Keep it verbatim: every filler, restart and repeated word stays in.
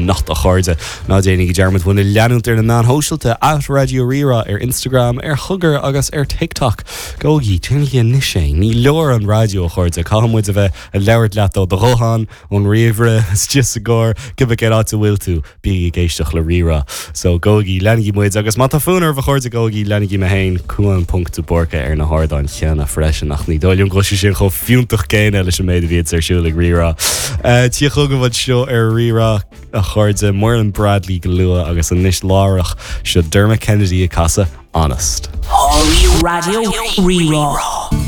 anocht a chairde ná déanaigí dearmad muid a leanúint ar na meáin shóisialta at Raidió Rí-Rá ar Instagram ar Thugger agus ar TikTok. Gabhaigí déanaigí anois é ní leor an raidió a chairde caithfidh muid a bheith ag labhairt leat ó do ghuthán ón ríomhaire istigh sa gcarr cibé cén áit a bhfuil tú bí ag éisteacht le Rí-Rá. So gabhaigí leanaigí muid agus má tá fonn oraibh a chairde gabhaigí leanaigí mé féin Cuan ponc de Búrca ar na hardáin chéanna freisin ach ní dóigh liom go bhfuil sé sin chomh fiúntach céanna leis an méid a bhí ar siúl ag Rí-Rá. Tí chugaibh seo ar Rí-Rá a chairde Muireann Bradley go luath agus anois láithreach seo Dermot Kennedy ag casadh Honest. Raidió Rí-Rá.